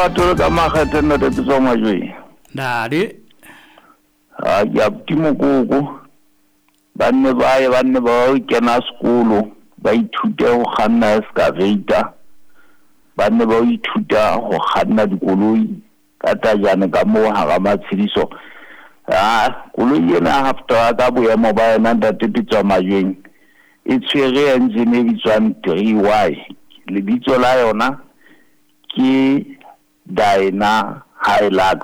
batolo ka makgethe ntate Pitso Majweng. Ntate. Ha ke abuti Mokoko. Ba nne ba ye ba nne ba kena sekolo ba ithute ho kganna excavator. Ba nne ba ithuta ho kganna dikoloi ka tajane ka moo hara matshediso. Ah, koloi ena half truck ka boemo ba yona ntate Pitso Majweng e tshwere engine e bitswang 3Y. Lebitso la yona ke Dyna Hilux.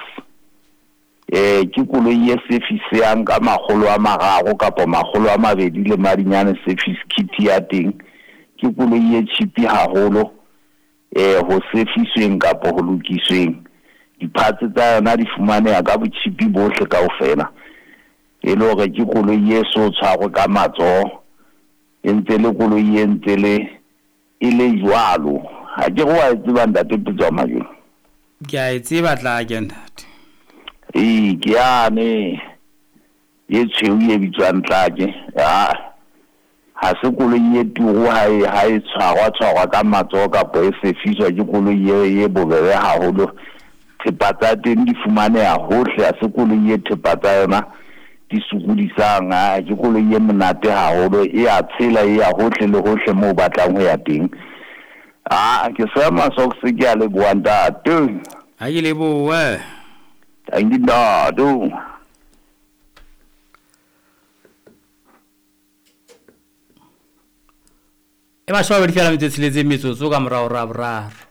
Ke koloi e service-yang ka 300 kapa 200 le madinyane service kit ya teng. Ke koloi e cheap haholo ho service-weng kapa ho lokisweng. Di-parts tsa yona di fumaneha ka botjhipi bohle kaofela. E le hore ke koloi e so tshwarwe ka matsoho, e ntse le koloi e ntse le e le jwalo. Ha ke re wa e tseba ntate Pitso Majweng? Ke a e tseba tlake ntate. Ee, ke yane e tshweu e bitswang tlake. Ha se koloi e turu ha e tshwarwa tshwarwa ka matsoho kapa e sefiswa, ke koloi e bobebe haholo. Thepa tsa teng di fumaneha hohle, ha se koloi e thepa tsa yona di sokodisang. Ke koloi e monate haholo, e a tshela, e ya hohle le hohle moo o batlang ho ya teng. Ke seema socks ke a leboha ntate. Ha ke lebohe. Thank you ntate. E 22 fela metsotso e tsheletseng metsotso ka morao ra boraro.